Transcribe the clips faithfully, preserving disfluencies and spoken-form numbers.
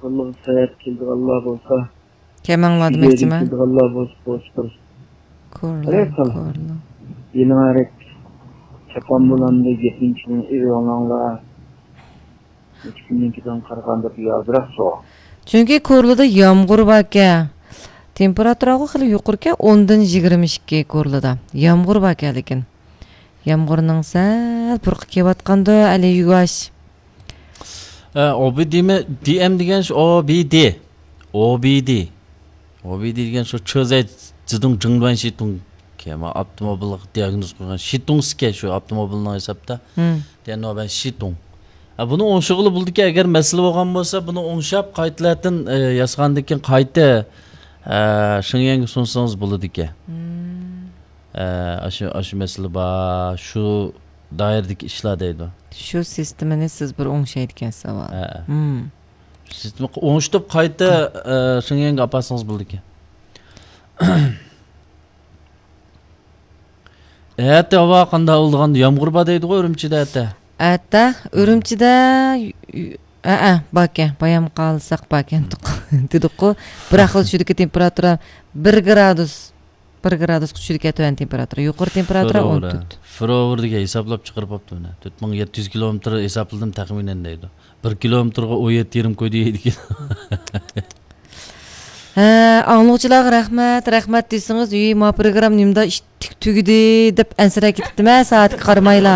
كورلىغا ساياھەتكە كېلىدىغانلار بولسا، كەمەڭلار دېمەكچىمەن. كېلىدىغانلار بولسا، بولسا بىر كورلا، كورلا. يېڭى ھەرەك چاپان بولامدۇ، گېپىنى چىڭ ئېلىۋالماڭلار. نەچچە كۈندىن كېيىن قارىغاندا بۇ ئازراق سوغۇق. چۈنكى كورلىدا يامغۇر باركەن. تېمپېراتۇرا خېلى يۇقىرىكەن، ئوندىن يىگىرمە ئىككى كورلىدا. يامغۇر باركەن لېكىن. يامغۇرنىڭ سەل پۇرىقى كېلىۋاتقاندۇ، ئەلى يۇگاش. ئە، ئو بى دېمە-، دى ئېم دېگەن شۇ، ئو بى دى. ئو بى دى. ئو بى دى دېگەن شۇ چېزەي زىدۇڭ جىڭلۇەن شىتۇڭ. كېمە ئاپتوموبىلغا دىئاگنوز قويغان شىتۇڭ سىكە شۇ ئاپتوموبىلنىڭ ھېسابتا. ھىم. دېگەن نوبەن شىتۇڭ. ئە، بۇنى ئوڭشىغىلى بولىدىكەن، ئەگەر مەسىلە بولغان بولسا، بۇنى ئوڭشاپ، قايتىلەتىن، ئە، ياسىغاندىن كېيىن قايتا، ئە، شېڭيەنگە سۇنسىڭىز بولىدىكەن. ھىم. ئە، ئاشۇ، ئاشۇ مەسىلە بار، شۇ دائىرىدىكى ئىشلار دەيدۇ. شۇ سىستېمىنى سىز بىر ئوڭشايدىكەنسىز، ھە. ھە. ھىم. سىستېما ئوڭشىتىپ قايتا، ئە، شېڭيەنگە ئاپارسىڭىز بولىدىكەن. ئەتە ھاۋا قانداق بولىدىغان، يامغۇر بار دەيدىغۇ ئۈرۈمچىدە ئەتە. ئەتە ئۈرۈمچىدە، ئەئە، باركەن، بايام قالساق باركەن دېدۇققۇ. بىراقلا چۈشىدىكى تېمپېراتۇرا بىر گرادۇس. بىر گرادۇسقا چۈشىدىكەن تۆۋەن تېمپېراتۇرا، يۇقىرى تېمپېراتۇرا ئون تۆت. فروۋېر دېگەن ھېسابلاپ چىقىرىپ ئاپتۇ مانا. تۆت مىڭ يەتتە يۈز كىلومېتىر ھېسابلىدىم تەخمىنەن دەيدۇ. بىر كىلومېتىرغا ئون يەتتە يېرىم كوي دەيدىكەن. ھە، ئاڭلىغۇچىلارغا رەھمەت، رەھمەت دېسىڭىز، ئۆي ما پروگرامما نېمىدا ئىتتىك تۈگىدى دەپ ئەنسىرەپ كېتىپتىمەن، سائەتكە قارىمايلا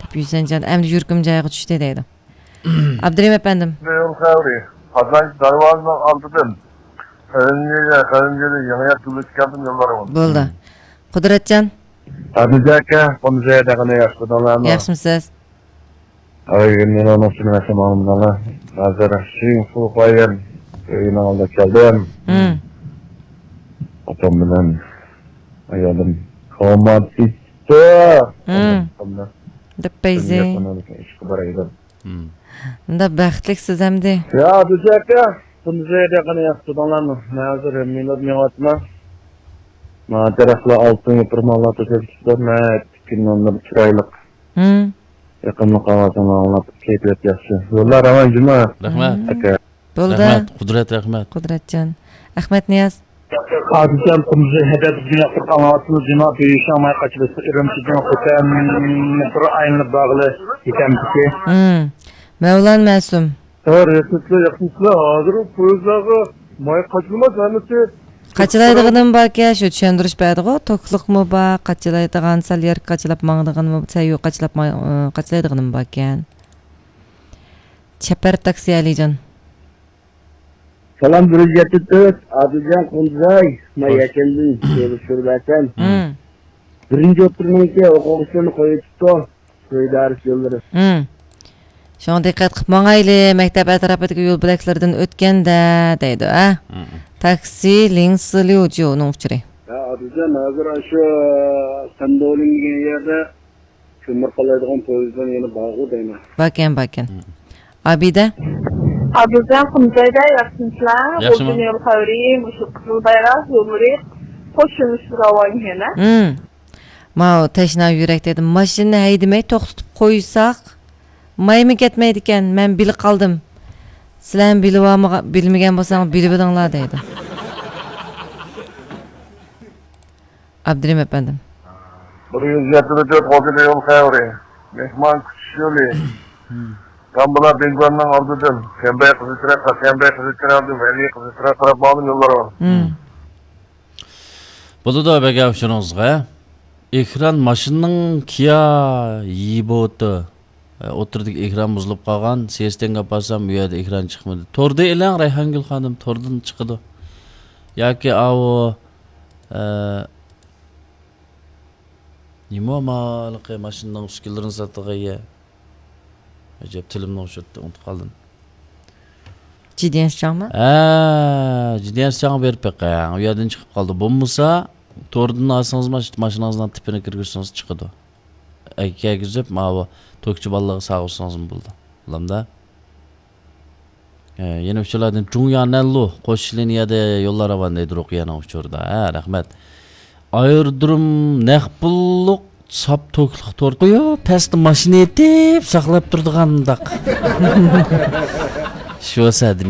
دەپ. ھۈسەنجان، ئەمدى يۈرىكىم جايىغا چۈشتى دەيدۇ. ئابدۇرېھىم ئەپەندىم. يول خەۋىرى. قازانچ دەرۋازىنىڭ ئالدىدىن قەلەندەرگە، قەلەندەرگە يېڭى يەر تۈزۈلۈش كەلدىم يوللار. بولدى. قۇدرەتجان. ئابدۇجان ئاكا، قۇمزەي دەغنى ياخشىمۇسىز؟ ياخشىمۇسىز؟ ئاي، مېنىڭ ئۇنىڭ ئۈچۈن ئەسلى ماڭدىم. ھازىر شىڭخۇ قايەن ئۆيىنىڭ ئالدىغا كەلدىم. ھىم. ئاپام بىلەن ئايالىم كوماتىستا. ھىم. دەپ بەيزى. ئىشقا باراي دېدىم. ھىم. مۇنداق بەختلىكسىز ئەمدى. يا، بىز ئاكا، بۇنىسى ياقىنى ياقتۇردۇڭلارمۇ؟ مەن ھازىر مىنۇت مېڭىۋاتىمەن. ماڭا تەرەپلەر ئالتۇن يوپۇرماقلار توشۇپ چىقىپتۇ. ناھايىتى كۈن نۇرلىرى چىرايلىق. ھىم. يېقىملىق ئاۋازىڭلار ئاڭلاپ، كەيپىيات ياخشى. يوللار راۋان جۇما. رەھمەت. ئاكا. بولدى. رەھمەت، قۇدرەت، رەھمەت. قۇدرەتجان. ئەخمەتنىياز. ئادىلجان، قۇمزى ھەدەپ بىزنى ياقتۇرۇپ ئاڭلاۋاتىمىز، جۇما بۈيۈشاڭ ماي قاچىلىسى ئۈرۈمچىدىن خوتەن بىر ئايلىنىپ بارغىلى يېتەمدىكى. ھىم. مەۋلان مەسۇم. ھە، رەھمەتلەر، ياخشىمۇسىلەر؟ ھازىر ئۇ پويىزلارغا ماي قاچىلىماس ھەممىسى. قاچىلايدىغىنىم باركەن، شۇ چۈشەندۈرۈش بەردىغۇ، توكلۇقمۇ بار، قاچىلايدىغان، سەل يەرگە قاچىلاپ ماڭىدىغىنىمۇ، سەل يول قاچىلاپ ماڭ-، قاچىلايدىغىنىم باركەن. چەپەر تاكسى ئەلىجان. سالام، بىر يۈز يەتتە تۆت، ئادىلجان قۇمزاي، مەن يەكەندىن كۆرۈشتۈرۈۋەتسەم. ھىم. بىرىنچى ئوتتۇرىنىڭكى ئوقۇغۇچىلىرىنى قويۇۋېتىپتۇ، سويدارىس يوللىرى. ھىم. شۇڭا دىققەت قىلىپ ماڭايلى، مەكتەپ ئەتراپىدىكى يول بۆلەكلىرىدىن ئۆتكەندە، دەيدۇ، ھە؟ ھىم. تاكسى لىڭ سىليۇچيۇنىڭ ئۇچۇرى. يا، ئادىلجان، ھازىر ئاشۇ سەندولىن دېگەن يەردە كۆمۈر قالايدىغان پويىزدىن يەنە بارغۇ دەيمەن. باركەن، باركەن. ھىم. ئابىدە. ئابىدە قۇمزايدا ياخشىمىسىلەر؟ ياخشىمۇ؟ خوتۇن يول خەۋىرى، مۇشۇ قىزىل بايراق يوللىرى قوشۇلۇش راۋان يەنە. ھىم. ماۋۇ تەشنا يۈرەك دېدىم. ماشىنىنى ھەيدىمەي توختىتىپ قويساق، مايمۇ كەتمەيدىكەن. مەن بىلىپ قالدىم. سىلەرمۇ بىلىۋالمىغا-، بىلمىگەن بولساڭ بىلىۋېلىڭلار دەيدۇ. ئابدۇرېھىم ئەپەندىم. بىر يۈز يەتتە تۆت خوتۇن يول خەۋىرى. مېھمان كۈتۈش يولى. كامبىلا بىنگوننىڭ ئالدىدىن. كەمبەي قىزىل چىراغ، كەمبەي قىزىل چىراغدىن ۋەلى قىزىل چىراغ تەرەپ ماڭدىم يوللار بار. ھىم. بولىدۇ، بەگە ئۇچۇرىڭىزغا. ئېكران ماشىنىنىڭ كىيا يىبوتى. ئوتتۇرىدىكى ئېكران بۇزۇلۇپ قالغان. سېستېنگە ئاپارسام، ئۇ يەردە ئېكران چىقمىدى. توردا ئېلىڭ، رەيھانگۈل خانىم، توردىن چىقىدۇ. ياكى ئاۋۇ، ئە، نېمە ئۇ ھېلىقى ماشىنىنىڭ ئۈسكۈنىلىرىنى ساتىدىغان يەر؟ ئەجەب، تىلىمنى ئوشۇرتتى، ئۇنتۇپ قالدىم. جىدىيەنشىچاڭمۇ؟ ھە، جىدىيەنشىچاڭغا بېرىپ بېقىڭ. ئۇ يەردىن چىقىپ قالدى. بولمىسا، توردىن ئالسىڭىز، ماش-، ماشىنىڭىزنىڭ تىپىنى كىرگۈزسىڭىز چىقىدۇ. ئەگەر كىرگۈزۈپ، ماۋۇ توكچى بالىلارغا ساغۇرسىڭىزمۇ بولىدۇ. بولامدا؟ ھە، يەنە ئۇچۇرلاردىن جۇڭيا نەنلۇ قوشۇش لىنىيەدە يوللار راۋان دەيدۇ رۇقىيەنىڭ ئۇچۇرىدا. ھە، رەھمەت. ئايرودروم نەق پۇللۇق ساپ توكلۇق تور قويۇپ، پەستە ماشىنا ئېتىپ ساقلاپ تۇرىدىغانداق. شۇ سەدىمە.